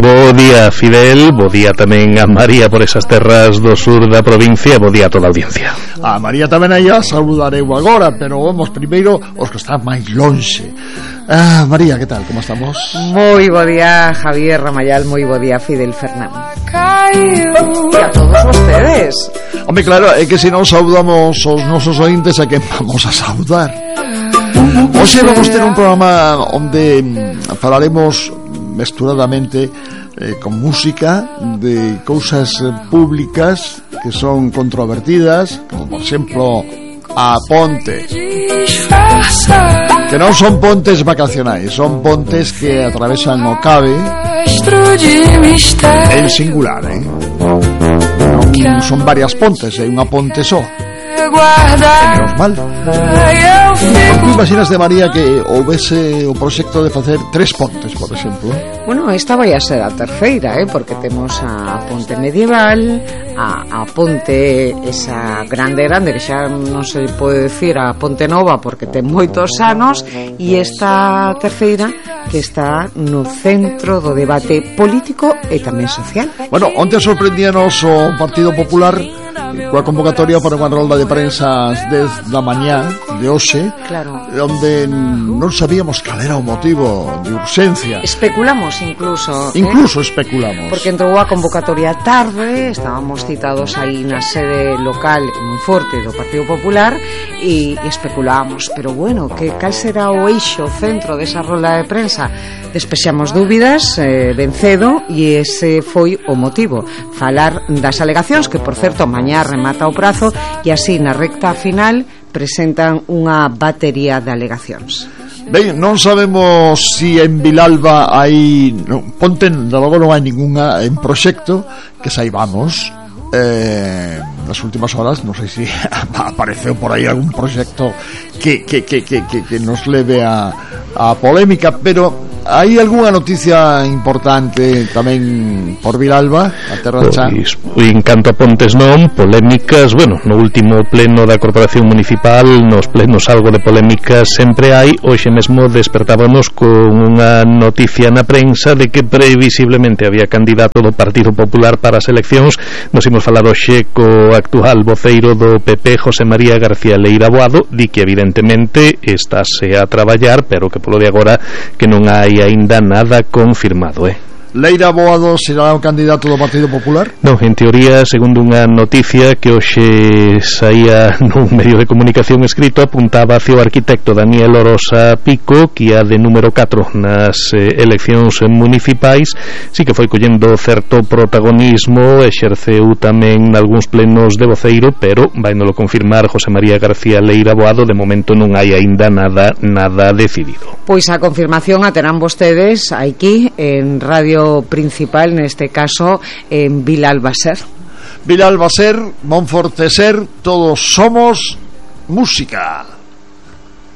Bo día, Fidel, bo día tamén a María por esas terras do sur da provincia, bo día a toda a audiencia. A María tamén aí a saludareu agora, pero vamos primeiro os que están máis lonxe. María, que tal, como estamos? Moi bo día, Javier Ramayal, moi bo día, Fidel Fernán. E a todos vostedes. Home, claro, é que se non saudamos os nosos ointes, a quen vamos a saudar? Hoxe vamos ter un programa onde falaremos mesturadamente con música de cousas públicas que son controvertidas, como por exemplo a ponte, que non son pontes vacacionais, son pontes que atravesan o Cabe en singular, non son varias pontes, é unha ponte só. Menos mal. Tú imaginas de María que houvese o proxecto de facer 3 pontes, por exemplo? Bueno, esta vai a ser a terceira, porque temos a ponte medieval, a ponte esa grande que xa non se pode decir a ponte nova porque ten moitos anos, e esta terceira que está no centro do debate político e tamén social. Bueno, onte sorprendíanos o Partido Popular coa convocatoria para unha rolda de prensa ás 10 da mañá de hoxe, claro, onde non sabíamos cal era o motivo de urxencia. Especulamos incluso especulamos. Porque entrou a convocatoria tarde, estábamos citados aí na sede local moi forte do Partido Popular e especulábamos, pero bueno, que cal será o eixo, o centro desa rolda de prensa? Despexamos dúbidas ben cedo e ese foi o motivo, falar das alegacións que, por certo, mañá remata o prazo e así na recta final presentan unha batería de alegacións. Ben, non sabemos si en Vilalba hai ponte, de logo non hai ningunha en proxecto que saibamos. Nas últimas horas non sei se apareceu por aí algún proxecto que nos leve a polémica, pero hai algunha noticia importante tamén por Vilalba, a terra xa? Pois, en canto a pontes non, polémicas, bueno, no último pleno da Corporación Municipal, nos plenos algo de polémicas sempre hai. Hoxe mesmo despertábamos con unha noticia na prensa de que previsiblemente había candidato do Partido Popular para as eleccións. Nos imos falar hoxe co actual voceiro do PP, José María García Leira Boado, di que evidentemente estáse a traballar, pero que polo de agora que non hai aínda nada confirmado, Leira Boado será o candidato do Partido Popular? Non, en teoría, segundo unha noticia que hoxe saía nun medio de comunicación escrito, apuntaba hacia o arquitecto Daniel Orosa Pico, que ia de número 4 nas eleccións municipais. Sí que foi collendo certo protagonismo, exerceu tamén nalgúns plenos de voceiro, pero vainolo confirmar José María García Leira Boado. De momento non hai aínda nada decidido. Pois a confirmación a terán vostedes aquí en Radio Principal, neste caso en Vilalba Ser. Vilalba Ser, Monforte Ser, todos somos música.